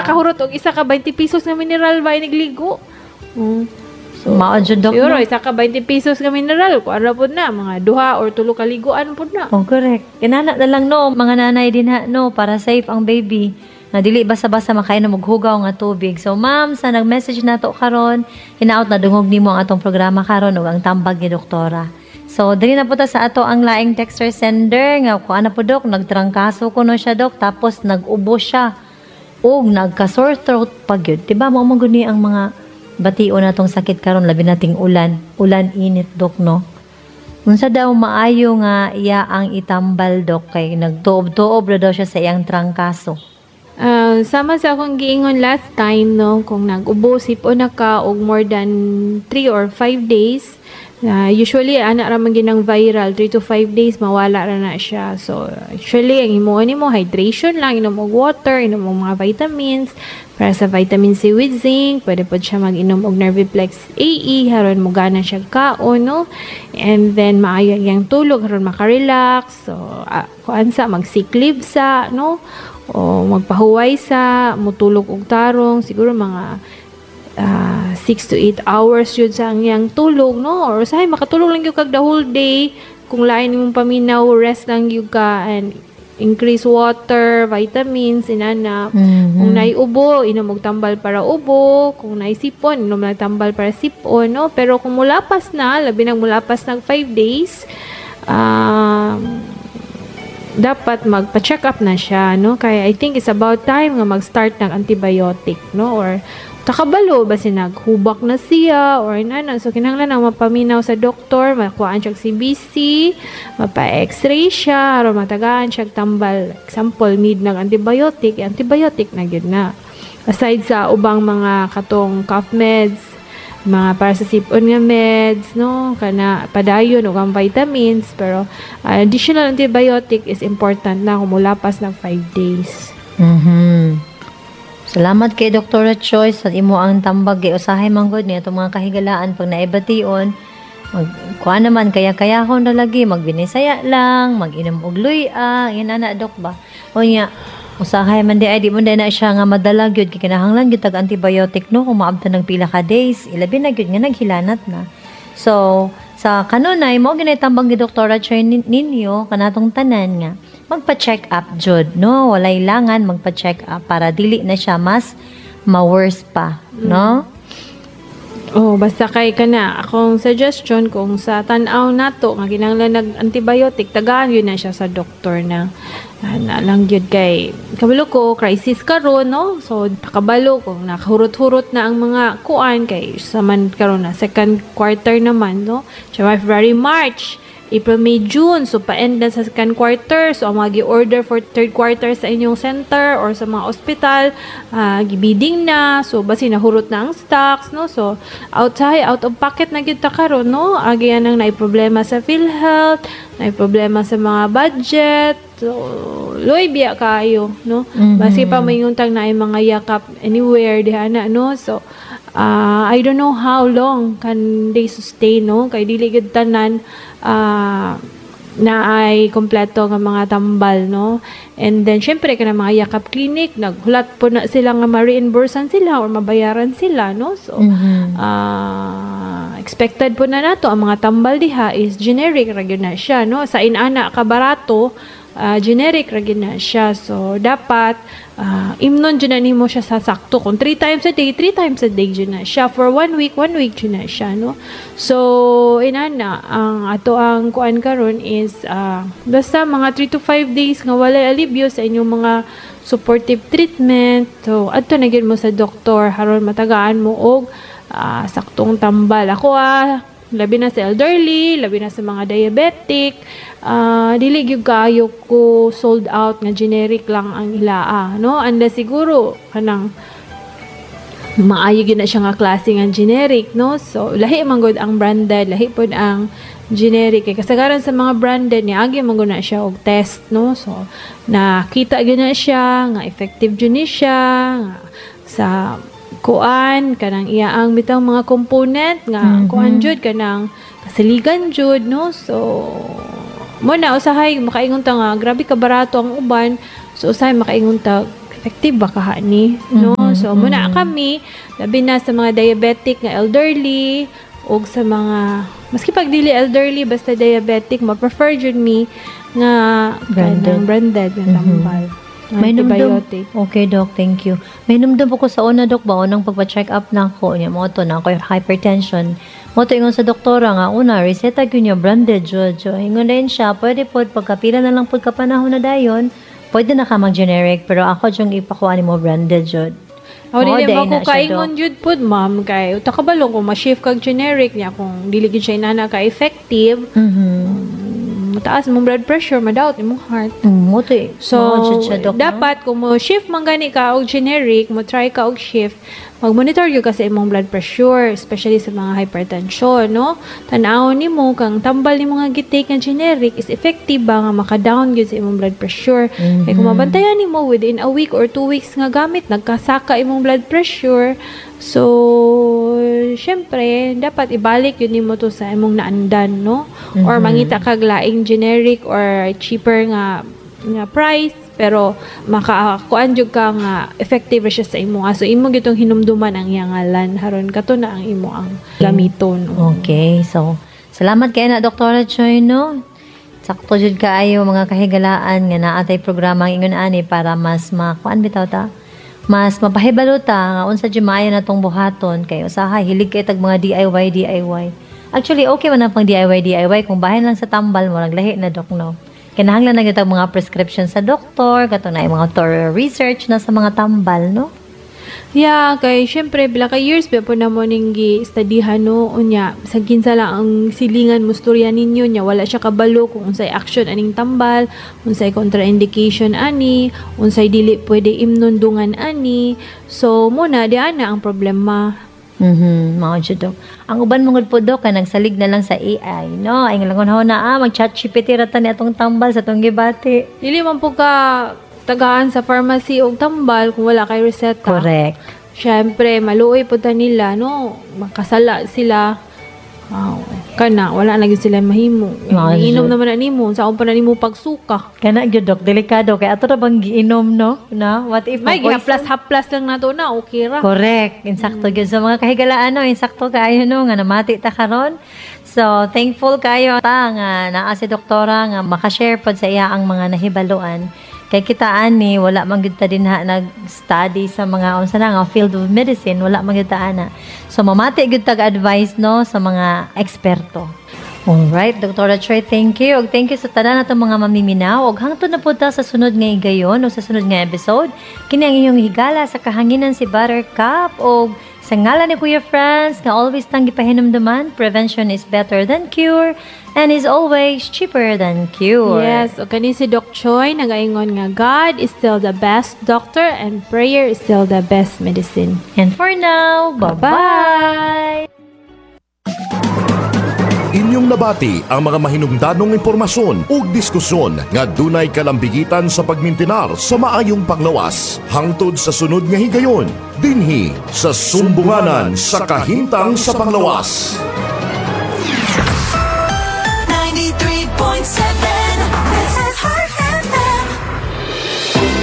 Makahurot og isa ka 20 pesos nga mineral ba inigligo. So, Mao jud, Dok, siguro no? isa ka 20 pesos nga mineral, kuan ra pud na mga duha or tulo ka liguan pud na. Oh, correct. Kinana na lang, no, mga nanay din ha, no, para safe ang baby. Na dili basta-basta makainom og hugaw nga tubig. So, ma'am, sa nag-message nato karon, hinaot na dungog nimo ang atong programa karon ug ang tambag ni doktora. So, diri na po ta sa ato ang laing texter sender nga kuan na po, Dok, nagtrangkaso kuno siya, Dok, tapos nag-ubo siya ug nagka sore throat pa gyud. Diba mao man gud ni ang mga bation natong sakit karon, labi nating ulan, ulan init, Dok, no? Unsa daw maayo nga iya ang itambal, Dok, kay nagtuob-tuob ra daw siya sa iyang trangkaso? Sama sa akong giingon last time, no, kung nag-ubo, sipon na ka og more than 3 or 5 days, usually ana ra man ginang viral, 3 to 5 days mawala ra na siya. So actually ang himuon nimo, hydration lang, inom og water, inom og mga vitamins, para sa vitamin C with zinc, pwede pod siya mag-inom og Nerviplex AE haron mo gana siya kaon, no? And then maayo iyang tulog haron makarelax. So kuan sa mag sick leave sa, no? O magpahuway sa, mutulog og tarong, siguro mga 6 to 8 hours yun sa ang iyang tulog, no? Or usahay makatulog lang gyud kag the whole day. Kung lain imong paminaw, rest lang gyud ka and increase water, vitamins, inana. Kung naay ubo, inom og tambal para ubo. Kung naay sipon, inom lang tambal para sipon, no? Pero kung mulapas na, labi nang mulapas nag 5 days, dapat magpa-check up na siya, no? Kaya I think it's about time nga mag-start ng antibiotic, no? Or takabalo ba si naghubak na siya or inana. So kinahanglan ang mapaminaw sa doktor, makuhaan siya CBC, mapa-x-ray siya, aron matagaan siya tambal. Example, need ng antibiotic, antibiotic na gyud na. Aside sa ubang mga katong cough meds, mga para sa sipon nga meds, no, kana padayon ug ang vitamins, pero additional antibiotic is important na kung mulapas ng 5 days. Salamat kay Dr. Choice sa imo ang tambag kay usahay man gud ni atong mga kahigalaan pag naibation mag kuan naman kaya kaya na lagi magbinisaya lang, mag-inom og luya, inana, Dok, ba? Unya usahay man di ay di mo na siya nga madala gyud kay kinahanglan gyud tag antibiotic, no, kung maabtan ng pila ka days, ilabi na gyud nga naghilanat na. So sa kanunay mo ginay tambag ni Dr. Choi ninyo kanatong tanan nga magpa-check up jud, no? Walay langan, magpa-check up para dili na siya mas ma-worse pa, no? Oh, basta kay kana akong suggestion, kung sa tan-aw nato nga kinahanglan nag antibiotic, tagaan yun na siya sa doktor na na lang gyud kay kabalo ko crisis karon, no? So kabalo kung nakahurot-hurot na ang mga kuan kay sa man karon na second quarter naman, no? January, February, March, April, May, June. So, pa-end na sa second quarter. So, ang mga gi-order for third quarter sa inyong center or sa mga ospital, gibiding na. So, basi nahurot na ang stocks, no? So, outside, out of pocket na gyud ta karon, no? Agi ang naay problema sa PhilHealth, naay problema sa mga budget. So, luoy biya kaayo, no? Basi pa may tag naay mga yakap anywhere diha na, no? So, I don't know how long can they sustain, no? Kay dili gyud tanan na ay kompleto nga mga tambal, no? And then, syempre, kana mga yakap clinic, naghulat po na sila nga ma-reimbursean sila or mabayaran sila, no? So, expected po na nato ang mga tambal diha is generic ra gyud na siya, no? Sa inana ka barato, generic ra gyud na siya. So, dapat imnon jud na nimo siya sa sakto. Kung 3 times a day, 3 times a day jud na siya. For one week, one week jud na siya, no? So, inana, ang ato ang kuan karon is basta mga 3 to 5 days nga walay alibyo sa inyong mga supportive treatment. So, adto na gyud mo sa doktor haron matagaan mo og saktong tambal. Ako labi na sa elderly, labi na sa mga diabetic, dili gyud kaayo ko sold out nga generic lang ang ilaa, no? Anda siguro kanang maayo gyud na siya nga klase nga generic, no? So lahi man gud ang branded, lahi pod ang generic kay kasagaran sa mga branded niagi man gud na siya og test, no? So nakita gyud na siya nga effective jud ni siya nga sa kuan kanang iya ang bitang mga component nga kuan jud kanang kasaligan jud, no? So mo na usahay makaingon ta nga grabe ka barato ang uban, so usahay makaingon ta effective ba kaha ni, no? So muna kami, labi na sa mga diabetic nga elderly og sa mga maski pag dili elderly, basta diabetic, ma-prefer jud mi nga branded. Kanang branded nga tambal. Nga May numdum. antibiotic. Okay, Doc. Thank you. May numdum po ko sa una, Doc, ba? Unang pagpa-check up na ako. Niya, mo to na ako hypertension. Mo to ingon sa doktora nga, una, reseta gyud niya, branded, jud. So, ingon din siya, pwede po, pagkapila na lang po kapanahon na dayon, pwede na ka mag-generic, pero ako dyong ipakuha ni mo branded, jud. Ako Oo, dili day mo na ko siya, kaingon Doc. jud pud, ma'am, kay uta kabalo kung ma-shift kag generic niya, kung dili gid siya inana ka effective, mataas mong blood pressure, madaot imong heart. Mo to eh. So, Mao jud siya, Doc, no? dapat kung mo shift man gani ka og generic, mo try ka og shift, mag-monitor gyud ka sa imong blood pressure, especially sa mga hypertension, no? Tan-awon nimo kang tambal nimo nga gi-take nga generic is effective ba nga maka-down gyud sa imong blood pressure. Kay kung mabantayan nimo within a week or 2 weeks nga gamit, nagkasaka imong blood pressure. So, syempre, dapat ibalik yun nimo to sa imong naandan, no? Or mangita kag laing generic or cheaper nga price, pero makakuan jud ka nga effective ra siya sa imo. So imo gitong hinumduman ang iyang ngalan haron kato na ang imo ang gamiton. Okay, so salamat kay na, Dr. Choi, no? Sakto jud kaayo, mga kahigalaan, nga naa tay programa ang ingon ani para mas makuan bitaw ta. Mas mapahibalo ta nga unsa jud maayo na tong buhaton kay usahay hilig kay tag mga DIY DIY. Actually, okay man ang pang DIY DIY kung bahin lang sa tambal mo, lahi na, Dok, no. Kinahanglan na gyud tag mga prescription sa doktor, kato na yung mga thorough research na sa mga tambal, no? Yeah, kay syempre pila ka years ba po na mo ning gi-studyhan, no? Unya sa kinsa lang ang silingan musturya ninyo nya wala siya kabalo kung unsay action aning tambal, unsay contraindication ani, unsay dili pwede imnundungan ani. So muna di ana ang problema. Mao jud, Dok. Ang uban mo gud po, Dok, kay nagsalig na lang sa AI, no? Ay langon na mag ChatGPT ra ta ni atong tambal sa atong gibati. Dili man po ka tagaan sa pharmacy og tambal kung wala kay reseta. Correct. Syempre, maluoy po ta nila, no? Makasala sila. Wow. Kana, wala na gyud sila mahimo. Mga Inom jud. naman na nimo, sa pa na nimo pagsuka. Kana gyud, Dok, delikado kay ato ra bang giinom, no? Na what if May ma-poison? gihaplas-haplas lang nato na, okay ra. Correct. Insakto gyud sa mga kahigalaan, no, insakto kaayo, no, nga namati ta karon. So, thankful kayo ta nga naa si doktora nga makashare pod sa iya ang mga nahibaluan. Kay kita ani wala man gyud ta dinha nag-study sa mga unsa na nga field of medicine, wala man gyud ta ana. So mamati gyud tag advice, no, sa mga eksperto. Alright, Dr. Choi, thank you. Og thank you sa tanan natong mga mamiminaw. Og hangtod na po ta sa sunod nga higayon o sa sunod nga episode. Kini ang inyong higala sa kahanginan, si Buttercup. Og sa ngalan ni Kuya Franz, nga always tang gipahinumduman, prevention is better than cure and is always cheaper than cure. Yes, o kani si Doc Choi nagaingon nga God is still the best doctor and prayer is still the best medicine. And for now, bye-bye! Inyong nabati ang mga mahinungdanong impormasyon ug diskusyon nga dunay kalambigitan sa pagmintinar sa maayong panglawas. Hangtod sa sunod nga higayon, dinhi sa Sumbunganan sa Kahimtang sa Panglawas. 93.7. This is Heart FM.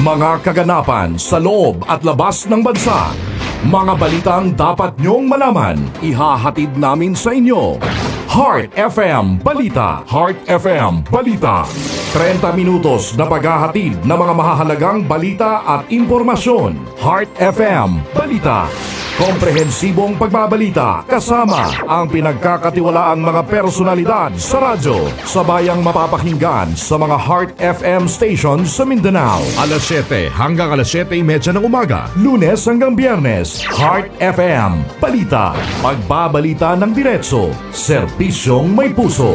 Mga kaganapan sa loob at labas ng bansa. Mga balitang dapat nyong malaman, ihahatid namin sa inyo. Heart FM Balita. Heart FM Balita. 30 minutos na paghahatid ng mga mahahalagang balita at impormasyon. Heart FM Balita. Komprehensibong pagbabalita kasama ang pinagkakatiwalaang mga personalidad sa radyo sa bayang mapapakinggan sa mga Heart FM stations sa Mindanao. Alas 7 hanggang alas 7:30 ng umaga, Lunes hanggang Biyernes. Heart FM Balita. Pagbabalita ng diretso, serbisyong may puso.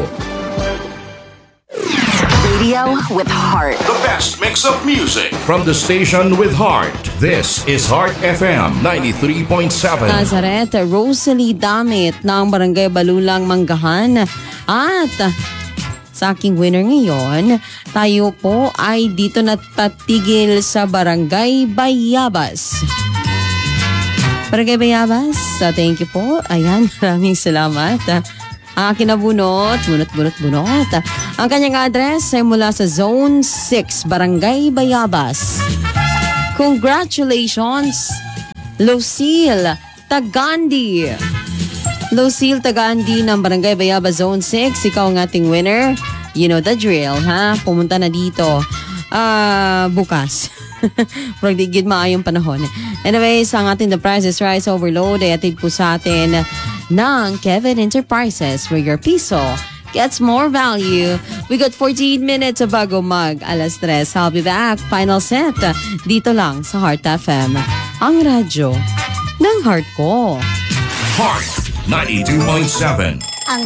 Radio with heart. The best mix of music from the station with heart. This is Heart FM 93.7. Nazareth, Rosalie Damit ng Barangay Balulang, Manggahan. At sa aking winner ngayon, tayo po ay dito natatigil sa Barangay Bayabas. Barangay Bayabas, thank you po. Ayan, maraming salamat. Ang aking nabunot, bunot, bunot, bunot. Ang kanyang address ay mula sa Zone 6, Barangay Bayabas. Congratulations! Lucille Tagandi. Lucille Tagandi ng Barangay Bayaba Zone 6. Ikaw ang ating winner. You know the drill, ha? Pumunta na dito bukas. Murag di gid maayong panahon. Anyways, ang ating The Price is Rice Overload ay atid po sa atin ng Kevin Enterprises, where your piso gets more value. We got 14 minutes bago mag alas 3. I'll be back. Final set. Dito lang sa Heart FM. Ang radyo ng heart ko. Heart 92.7. Ang